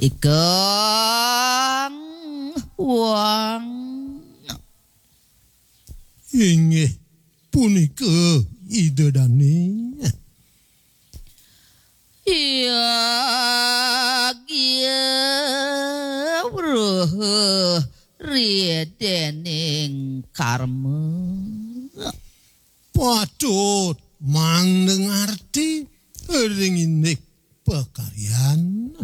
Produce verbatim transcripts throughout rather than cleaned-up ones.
Ikang wang. Inggih punika Ida Dane. Yagya wruh ridening karma. Patut mandengarti ring indik pakaryan.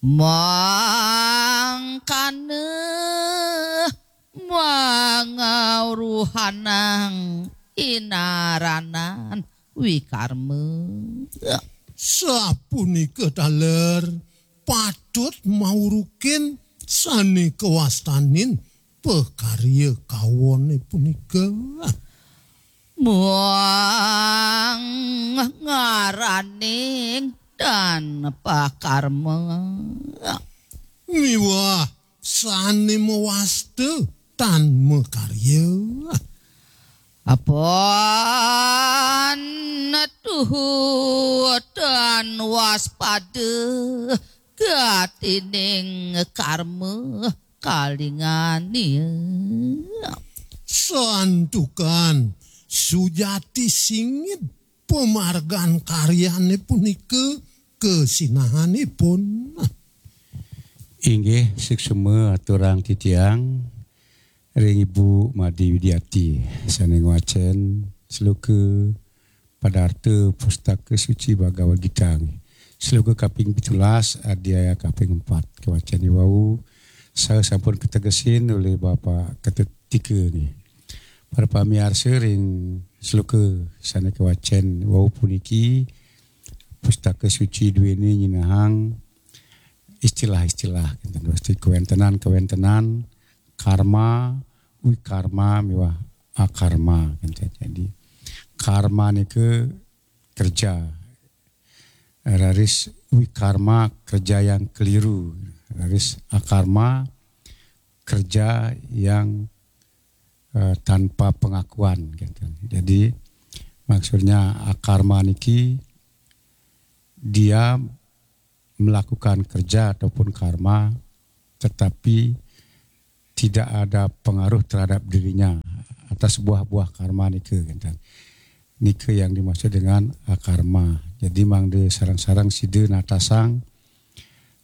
Mangkana mangauruhanang inaranan wikarma. Sapunika taler patut maurukin sane kawastanin pakarya kaone punika. Muang ngaraning dan pakarma. Miwah sane mawasta tan makarya. Apun tuhu tan waspada gatining karma kalingania. Santukan sujati singit pamargan karyane punika kasinahanipun. Inggih, suksma aturang titiang ring Ibu Madi Widiati sane ngwacen sloka padarta Pustaka Suci Bhagavad Gita. Sloka kaping pitulas, adhyaya kaping empat kawacen wau, saha sampun kategesin oleh Bapak Ketut Tika nggih. Para pamiarsa, ring sloka sane kawacen wau puniki, Pustaka Suci duene nyinahang istilah-istilah, kinten, pasti kawentenan-kawentenan karma, wikarma miwah akarma, kinten. Jadi karma nika kerja, raris wikarma kerja yang keliru, raris akarma kerja yang eh, tanpa pengakuan, kinten. Jadi maksudnya akarma niki dia melakukan kerja ataupun karma, tetapi tidak ada pengaruh terhadap dirinya atas buah-buah karma nika, kinten. Nika yang dimaksud dengan akarma. Jadi mangda sareng-sareng sida natasang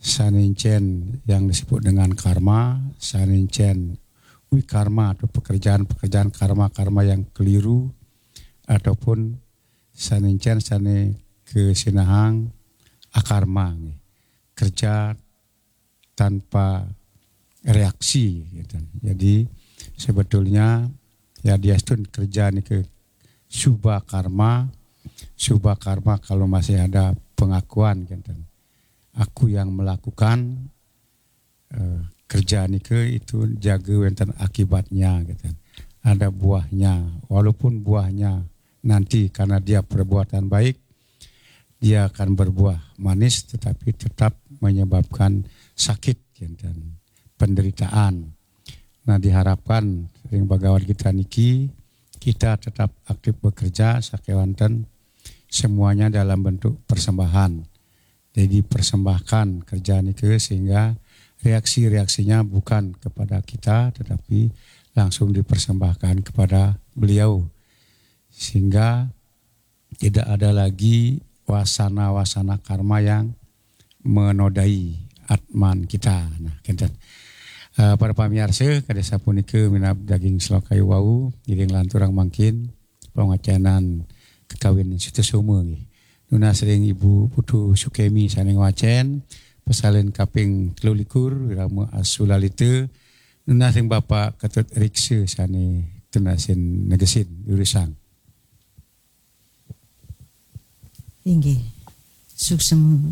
sane encen yang disebut dengan karma, sane encen wikarma atau pekerjaan-pekerjaan karma-karma yang keliru, ataupun sane encen sane kasinahang akarma nggih. Kerja tanpa reaksi, gitu. Jadi sebetulnya yadiastun kerja nika suba karma, suba karma kalau masih ada pengakuan, gitu. Aku yang melakukan eh, kerja nika itu jaga wenten akibatnya, gitu. Ada buahnya. Walaupun buahnya nanti karena dia perbuatan baik, dia akan berbuah manis, tetapi tetap menyebabkan sakit, kinten, penderitaan. Nah, diharapkan ring Bhagavad Gita niki kita tetap aktif bekerja sakewanten semuanya dalam bentuk persembahan. Jadi persembahkan kerja nika sehingga reaksi-reaksinya bukan kepada kita tetapi langsung dipersembahkan kepada beliau, sehingga tidak ada lagi wasana-wasana karma yang menodai atman kita. Nah, kinten. Eh, para pamiarsa, kadi sapunika minab daging sloka wau, ngiring lanturang mangkin pangacenan kekawin Sutasoma nggih. Nunas ring Ibu Putu Sukemi sane ngwacen, pasalin kaping telu likur, wirama Asu Lalita, nunas ring Bapak Ketut Riksa sane tunasin negesin durusang. Inggih. Suksema.